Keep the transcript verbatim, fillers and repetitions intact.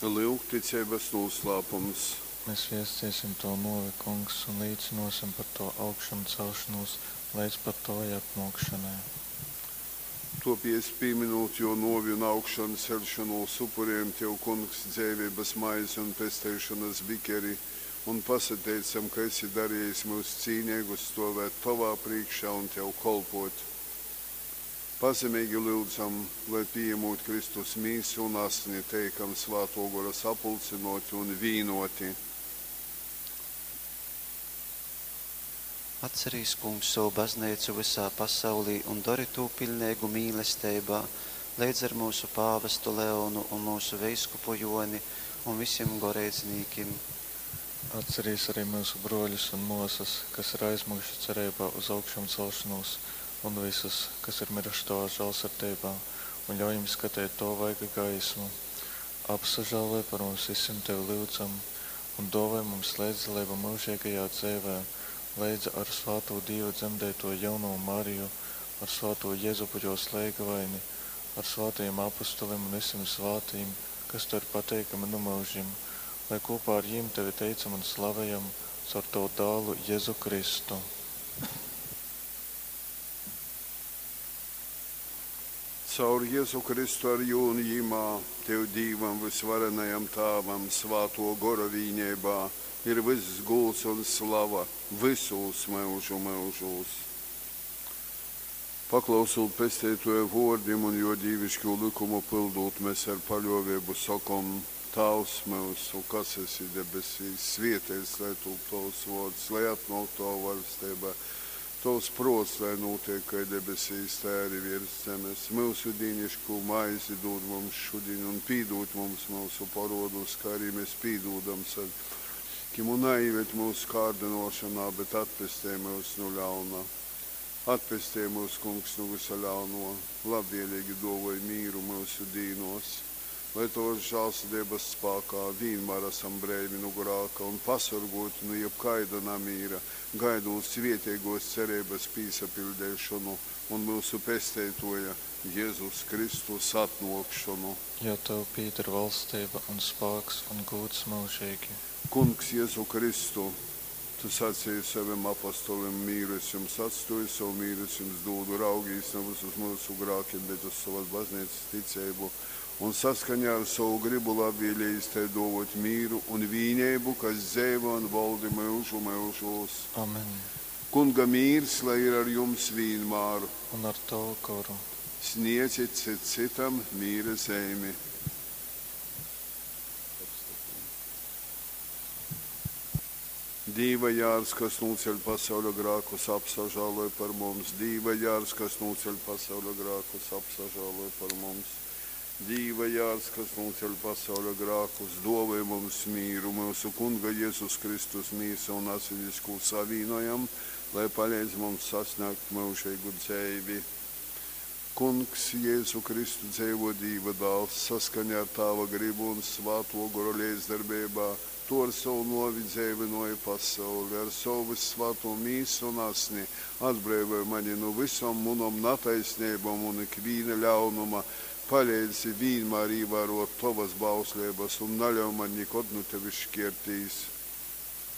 Lyuk ticeibas nūslāpums. Mes viesteisim Tovu nōvi, Kungs, un līcynōsim par Tovu augšamceļšonūs leidz pat Tovai atnōkšonai. Tōpiec, pīmynūt Jō nōvi un augšanceļšonūs, upurejam Tev, Kungs, dzeiveibas maizi un pesteišonas bikeri un pasateicam, ka esi darejis myus cīneigus stōvēt Tovā prīškā un Tev kolpōt. Pazemeigi lyudzam, lai, pījamūt Kristus Mīsu un Asni, teikam Svātō Gora sapulcynōti un vīnōti. Atcerīs, Kungs, sovu Bazneicu vysā pasaulī un dori tū piļneigu mīlesteibā, leidz ar myusu pāvestu Leonu un myusu veiskupu Jōni un visim goreidznīkim. Atcerīs arī myusu brōļus un mōsas, kas ir aizmyguši cereibā uz augšamcelšonūs, un vysus, kas ir myruši Tovā žālsirdeibā, un ļauj jim skateit Tova vaiga gaismu. Apsažāloj par mums vysim Tevi lyudzam, un dōvoj mums leidzdaleibu myužeigajā dzeivē, leidza ar svātū Dīva dzemdeitoju jaunovu Mariju, ar svātū Jezupu jōs leigavaini, ar svātajim apustulim un vysim svātajim, kas Tev ir pateikami nu myužim, lai kopā ar jim Tevi teicam un slavejam caur Tavu dālu Jezu Kristu. Caur Jezu Kristu ar jū un jimā, Tev Dīvam vysvarenajam Tāvam, Svātō Gora vīneibā, ir vyss gūds un slava vysūs myužu myužūs. Paklausūt Pesteitōja vōrdim un Jō dīviškū lykumu pyldūt, mes ar paļōveibu sokom, Tāvs myusu, kas esi debesīs, svēteits lai tūp Tovs vōrds, lai atnōk Tova vaļsteiba. Tovs prōts lai nūteik kai debesīs, tai arī viers zemes. Myusu dīniškū maizi dūd mums šudiņ un pīdūd mums myusu porodus, kā arī mēs pīdūdam savim un naīved mūsu kārdinošanā, bet atpestej myus nu ļauna. Atpestej mūs, Kungs, nu vysa ļauno, labvēlīgi dōvoj mīru myusu dīnos, lai Tovas žālsirdības spākā vienmēr esam breivi nu grāka un pasorgoti nu jebkaida namīra, gaidot svētīgos cerības pīsapildīšanu un myusu Pesteitoja Jēzus Kristus atnōkšanu. Jo Tev pīder valstība un spāks un gūds mūžīgi. Kungs Jezu Kristu, Tu sacīji savim apostolim, mīru es jums atstōju, savu mīru es jums dūdu, raugīs nevis uz myusu grākiem, bet uz savas baznīcas ticību, un saskaņā ar savu gribu labvēlījis tai dōvot mīru un vīneibu, kas dzeivo un valdi myužu myužūs. Amen. Kunga mīrs, lai ir ar jums vienmēr. Un ar Tavu goru. Sniedzit cit citam mīra zeimi. Dīva jārs, kas nūceļ pasauļa grākus, apsažāloj par mums. Dīva jārs, kas nūceļ pasauļa grākus, apsažāloj par mums. Dīva jārs, kas nūceļ pasauļa grākus, dāvoj mums mīru, myusu Kunga Jēzus Kristus mīsa un asinis, ko savīnojam, lai palīdz mums sasniegt mūžīgu dzīvi. Kungs Jēzu Kristu dzeivo Dīva dāls, saskaņā ar Tāva gribu un Svāto Gora līdzdarbībā, Tu ar savu novi dzeivināji pasauli, ar savu vissvāto mīsu un asni atbrīvoji mani no visām manām netaisnībām un ikviena ļaunuma. Palīdzi vienmēr ievērot Tavas bauslības un neļauj man nekad no Tevis šķirtīs.